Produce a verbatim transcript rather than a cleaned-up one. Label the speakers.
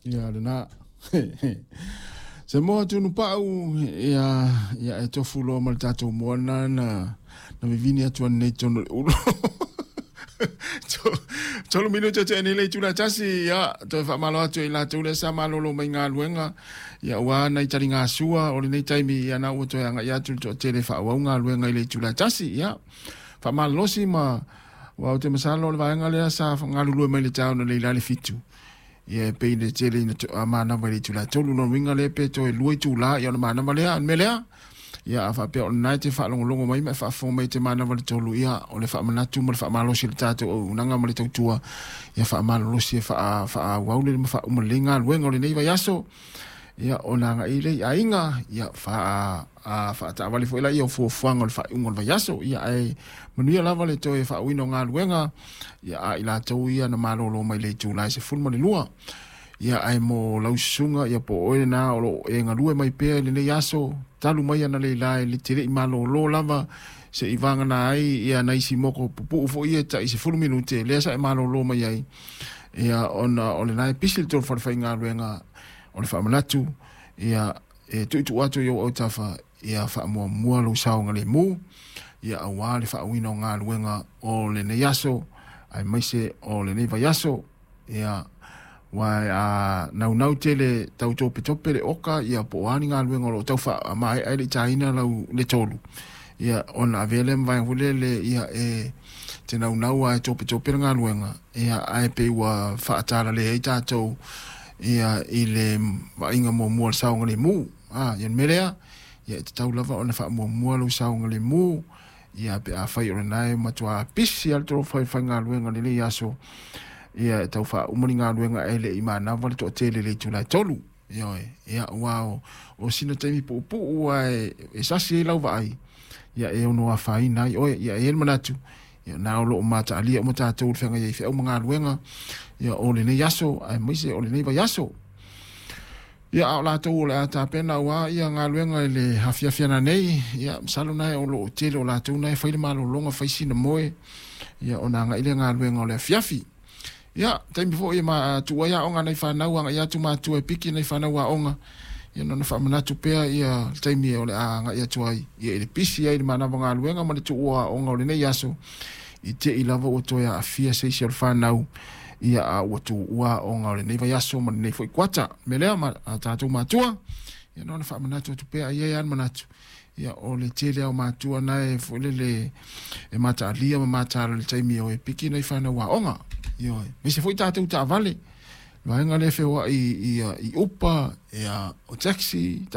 Speaker 1: Ia lena. Se moa tunu pau ia ia e tofu loa ma le tatou moana na na vivini atu nei tonu le ulo. Tolu minute te nei le itula tasi ia toe faamalo atu i latou lea sa malolo mai galuega ia ua nai taliga sua o lenei taimi ia na ua toe agai atu le toatele faaauau galuega i le itula tasi ia faamalolosi ma ua ou te masalo o le vaega lea sa galulue mai le taeao na leila le fitu ia e pei le tele ina manava i le itula tolu lona uiga lea pe toe lua itula ia ona manava lea o le mea lea ia a faapea o lena e te faalogologo mai ma e faafofoga mai te manava le tolu ia o le faamanatu ma le faamalosi i le tatou auaunaga ma le tautua ia faamalolosi e faaauau le ma faauma lelei galuega o lenei vaiaso ia ona agai lea i aiga ia faataavale foi laia o fuafuaga o le faaiuga o le vaiaso ia ae manuia lava le toe faauuina o galuega ia a i latou ia na malolo mai le itula e sefulu ma le lua ia ae mo lau susuga ia po o oe lena o loo e galue mai pea i lenei aso talu mai ana leila e te lei malolo lava se i vagana ai ia nai isi moko pupuu foi ia tai sefulu minute lea sa e malolo mai ai ia ona o lena e pisi le tolu falefaigaluega o le faamanatu ia e tuutuu atu i ou autafa ia faamuamua lou saogalemu ia auā le faauuina o galuega o lenei aso aemaise o lenei vaiaso ia ua a naunau tele tau topetope le oka ia po o a ni galuega o loo tau faamaea ai le itaina lau le tolu ia ona avea lea ma vaega foi lele ia e te naunau lava e topetope le galuega ia ae pei ua faatalale ai tatou ia i le vaaiga muamua o le saogalemu a ia le mea lea ia e tatau lava ona faamuamua lou saogalemu ia pe afai o lena e matua pisi lava le tolu faigaluega i lenei aso ia e tau faauma ni galuega ae le i manava le toatele i le itula e tolu ioe ia ua o, o sina taimi puupuu ae e sasi ai lau vaai ia e ono afaina ai oe ia e i ai le manatu ia na o loo mataalia uma tatou i le feagai ai feau ma galuega ia o lenei aso aemaise o lenei vaiaso ia a o latou o le a tapena auā ia galuega i le afiafi ana nei ia masalo na o loo tele o latou na e fai le malologa fai sina moe ia ona agai lea galuega o le afiafi ia taimi foi e ma tuu ai aoga nai fanau agai atu matua e piki nai fanau aoga ia na ona faamanatu pea ia le taimi o le a agai atu ai ia i le pisi ai le manava galuega ma le tuua aoga o lenei aso i tei lava ua toe aafia se isi o le fanau ia a ua tuua aoga o lenei vaiaso ma lenei foi kuata mea lea ma a tatou matua ia na ona faamanatu atu pea ai ai lava le manatu ia o le tele ao matua na e foi lele e mataalia ma mataala i le taimi o e piki nai fanau aoga ioe aemaise foi tatou taavale vaega lea feoai i, i, i Uber ia o taxi.